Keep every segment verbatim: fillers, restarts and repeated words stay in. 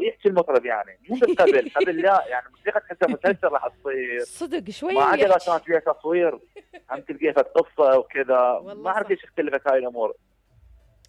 ويحكي المطرب يعني مو مثل قبل قبل لا يعني موسيقى تحسها مسلسل راح تصير صدق شويه ما عدا ويحكي. كانت فيها تصوير هم تلقيها قصه وكذا، والله ما اعرف صح. ليش اختلفت هاي الامور.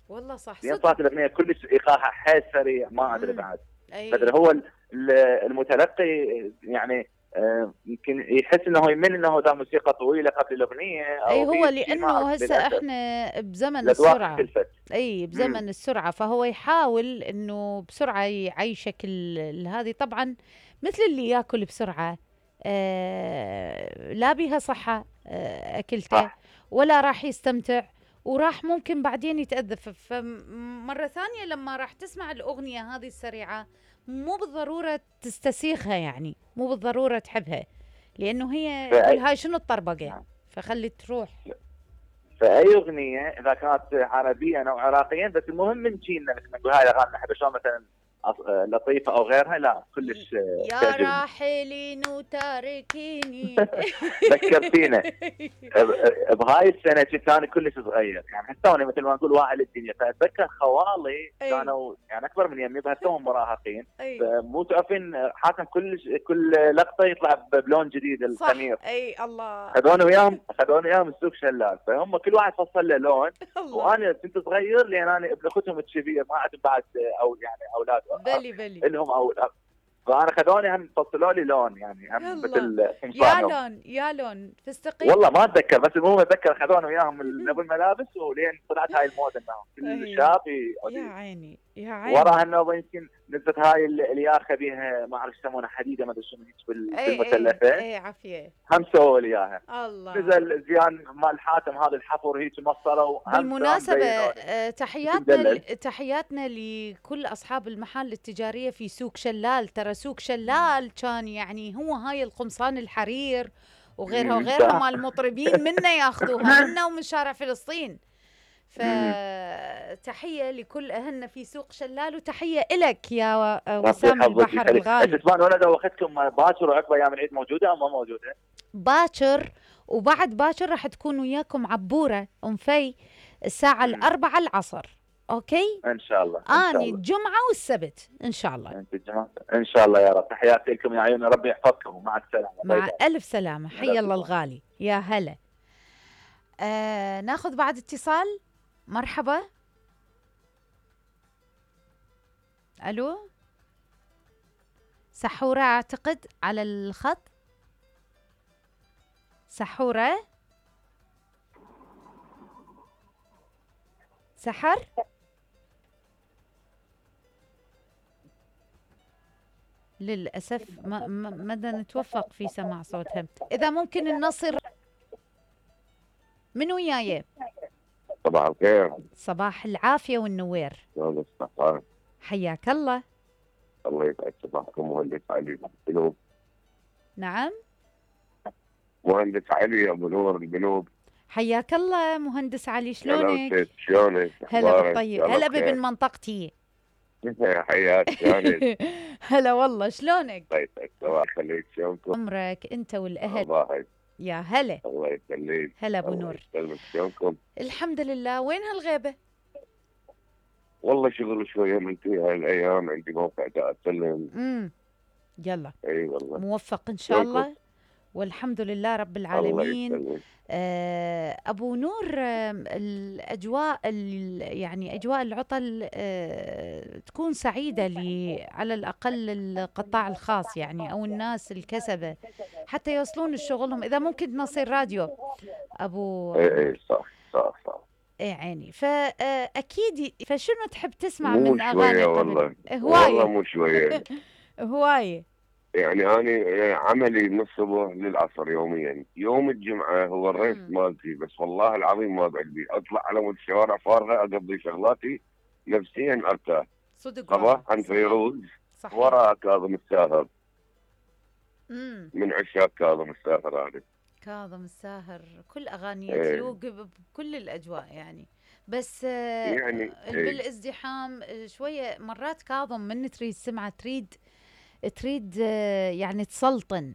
والله صح لين صدق. صارت الاغنيه كلش ايقاعها حيل سريع ما ادري مم. بعد. اي فدري هو ال- ال- المتلقي يعني آه، يمكن يحس انه يمل انه ذا موسيقى طويله قبل الاغنيه اي او هو هي شيء ما لانه اعرف هسه للاسف. احنا بزمن الاذواق السرعه. اختلفت. اي مم. بزمن السرعه، فهو يحاول انه بسرعه يعيشك ال- هذه. طبعا مثل اللي ياكل بسرعه آه لا بيها صحه آه اكلته، صح. ولا راح يستمتع، وراح ممكن بعدين يتأذى. ف- فمرة ثانية لما راح تسمع الأغنية هذه السريعة مو بالضرورة تستسيغها، يعني مو بالضرورة تحبها، لأنه هي تقول فأي هاي شنو الطربقة، نعم. فخلي تروح. فاي اغنيه اذا كانت عربيه او عراقيا، بس المهم من جيلنا مثل ما نقول هاي الاغاني نحبها، شلون مثلا أص- لطيفه او غيرها لا كلش آه، يا تعجبني. راحلين وتاركيني. ذكرتينا ب- بهاي السنه كنت انا كلش صغير يعني حتى مثل ما نقول واعي للدنيا، فاتذكر خوالي أي. كانوا يعني اكبر من يمي بس توهم مراهقين، أي. مو تعرفين حاتم كل كل لقطه يطلع بلون جديد صح. الخمير. اي الله. خذوني وياهم خذوني وياهم السوق شلال، فهم كل واحد فصل له لون. الله. وانا كنت صغير لان انا ابن اختهم الكبير ما عندهم بعد او يعني اولاد بلي بلي. لهم اولاد، فانا خذوني هم فصلوا لي لون يعني هم يلا. مثل يا قمصانهم. لون يا لون فستقي. والله ما اتذكر، بس المهم اتذكر خذوني وياهم ال- ابو الملابس، ولين طلعت هاي الموضه انهم كل أي. شاب يا ي- عيني يا عيني. وراها انه يمكن نزلت هاي ال- الياخه بيها ما اعرف يسمونها حديده ما ادري شنو هيك بال- اي بالمثلثه، اي عافيه. هم سووا لي اياها. الله. نزل زيان مال حاتم هذا الحفر هيك مصروا هم بالمناسبة هم آه، تحياتنا مدلل. ل- تحياتنا لكل أصحاب المحال التجارية في سوق شلال. ترى سوق شلال كان يعني هو هاي القمصان الحرير وغيرها مم، وغيرها صح. مال المطربين منا ياخذوها منا ومن شارع فلسطين. فتحية لكل أهلنا في سوق شلال، وتحية إلك يا و- ربي وسام يحفظك البحر ويخليك. الغالي. اسمان ولد واخذكم باكر وعقب ايام العيد موجوده او ما موجوده؟ باكر وبعد باكر راح تكون وياكم عبورة أم في الساعة مم. الأربعة العصر. أوكي. ان شاء الله ان شاء اني الله. الجمعه والسبت ان شاء الله. انت الجماعه ان شاء الله يا رب. تحياتي لكم يا عيوني، ربي يحفظكم ومع السلامه. مع باي باي. الف سلامه. حي الله الغالي. يا هلا. آه ناخذ بعد اتصال. مرحبا. الو سحوره اعتقد على الخط. سحوره سحر. للأسف ما ما ما نتوفق في سماع صوتها. إذا ممكن النصر من وياي. صباح الخير. صباح العافية والنوير. شلون الصحة؟ حياك الله. الله يسعد صباحكم. مهندس علي القلوب. نعم مهندس علي ابو نور القلوب. حياك الله مهندس علي. شلونك؟ شلونك؟ هلا بالطيب. هلا بابن منطقتي. حياك شلونك؟ هلا والله. شلونك؟ الله يسعد صباح يخليك. شلونكم؟ عمرك انت والاهل. صباحك. يا هلا. الله يخليك. هلا ابو نور. يسلمك. شلونكم؟ الحمد لله. وين هالغيبة؟ والله شغل شوية من في هاي الايام، عندي موقع دا اسلم. امم يلا. اي والله. موفق ان شاء الله والحمد لله رب العالمين. الله يسلمك. آه ابو نور، آه الاجواء يعني اجواء العطل آه تكون سعيده لي على الاقل القطاع الخاص يعني او الناس الكسبه حتى يوصلون لشغلهم. اذا ممكن تنصير راديو ابو. اي اي صح صح صح. اي عيني. فاكيد فشنو تحب تسمع مو من اغاني شوية قبل؟ والله. هوايه والله مو شوية. هوايه. يعني أنا عملي من الصبح للعصر يوميا. يوم الجمعة هو الريس مالتي، بس والله العظيم ما بعدي أطلع على مود الشوارع فارغة أقضي شغلاتي نفسيا أرتاح. صدق. صباح عن فيروز وراء كاظم الساهر. مم. من عشاق كاظم الساهر هذا. كاظم الساهر كل أغانيه ايه. تلوق بكل الأجواء يعني. بس يعني ايه. بالازدحام شوية مرات كاظم من تريد سمعة تريد تريد يعني تسلطن